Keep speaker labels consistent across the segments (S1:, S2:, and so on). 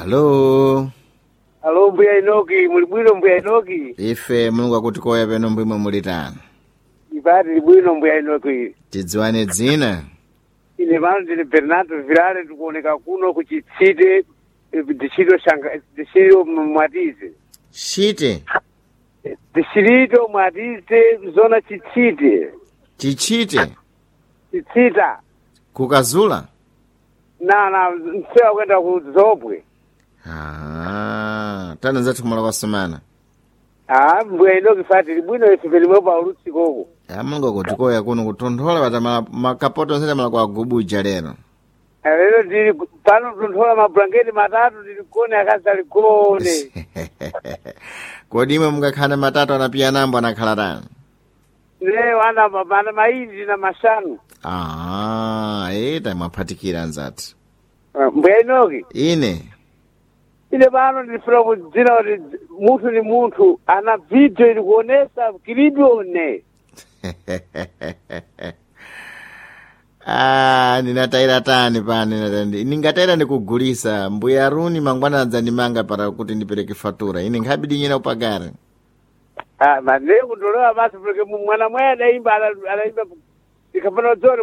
S1: Alo.
S2: Alo mbuya Inoki, muli bwino mbuya Inoki?
S1: Ife Mulungu akutikoya peno mbwimwe muli tani.
S2: Ipati li bwino mbuya Inoki.
S1: Tidziwane dzina.
S2: Ine pano ndine Bernardo Vilale, ndikuoneka kuno ku Chitsite, distrito Shanga, distrito Mwatize.
S1: Chite.
S2: Distrito Mwatize, zona Chitsite.
S1: Chichite.
S2: Chitsita.
S1: Kukazula.
S2: Na msewa kwenda ku Zobwe.
S1: Ah, tani zathu kumala kwa sumana.
S2: Ah, mbuya Inoki fati li bwino ife pelimwe pa ulutsikoko.
S1: Ah, Mulungu akutikoya kuno kutonthola patamala makapoto onse tamala kwa gubuja lero.
S2: Lero ndili pano tunthola mablanketi matatu ndili kone akazi ali gone.
S1: Kodi imwe mungakhala matatu anapiya nambo anakhala tani?
S2: Ne wana ana maindi na mashanu.
S1: Ah, eta mwaphatikira anzathu.
S2: Mbuya Inoki.
S1: Ine.
S2: Ine pano ndifuna kudzina kuti munthu ni munthu ana video ili kuonesa kilibione.
S1: Ah, ndinatayira tani pano ningatayira ndikugulisa mbuya Aruni mangwana adzandimanga para kuti ndipereke fatura ine nkhabidi nyina upagare.
S2: Ah, mane kundolewa basi porque mwana mwaye adaimba adaimba ikapana dzori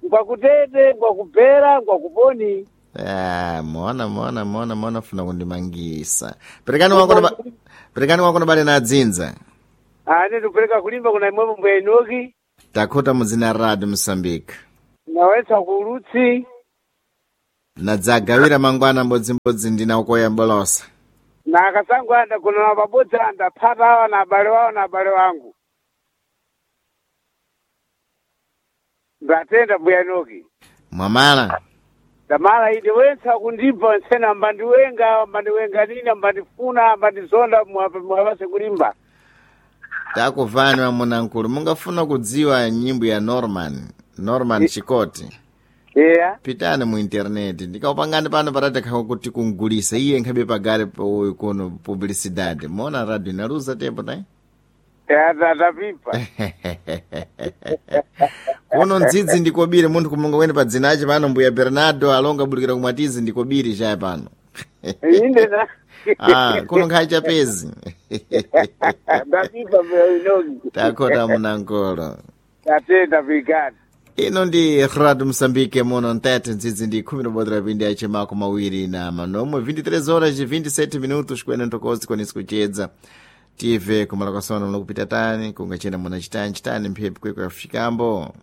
S2: ngwakutete ngwakubhera ngwakuponi.
S1: Ah, mona mona mona mona funa kundimangisa. Perekani wakono perekani wakono bale na adzinza.
S2: Ah, ine ndikupereka kulimba kuna imwepo mbuya Inoki.
S1: Takhota muzina Radio Mosambika.
S2: Nawetsa kuulutsi.
S1: Nadzagawira mangwana mbodzimbodzi ndina ukoya mbolosa.
S2: Na akasangu anda kuna pabodzi andaphata awa na abale wawo na abale wangu. Ndatenda mbuya Inoki.
S1: Mwamala.
S2: Damala ine wentsa kundibva ntsena mbandiwenga mbandiwenga nini mbandifuna mbandizonda mwapase kulimba.
S1: Takuvani wamunankulu mungafuna kudziwa nyimbo ya Norman, Norman Chikoti.
S2: Yeah.
S1: Pitani mu interneti ndikaupangani pano patatha kuti kungulisa iye nkhabe pagare uyu kuno publicidade mona radio inaluza tempo tai
S2: Ya ndapimpa.
S1: kuno ndzidzi ndikobiri munthu kumunga wene pa dzina ace pano mbuya Bernardo alonga bulikira kumwatizi ndikobiri chaye pano.
S2: Inde na.
S1: Ah, kuno nkhayi chapezi.
S2: Ndapimpa mbuya Inoki.
S1: Takhota munankolo.
S2: Tatenda brigade.
S1: Ino ndi Radio Mosambike muno ntete ndzidzi ndi khumi lobodera pindi ache mako mawiri na manomwe 23 horas e 27 minutos kwene ntokozi kwanisi kuchedza tive kumala kwasono munokupita tani kungachena muna chitani chitani mphepo kweko yafikambo.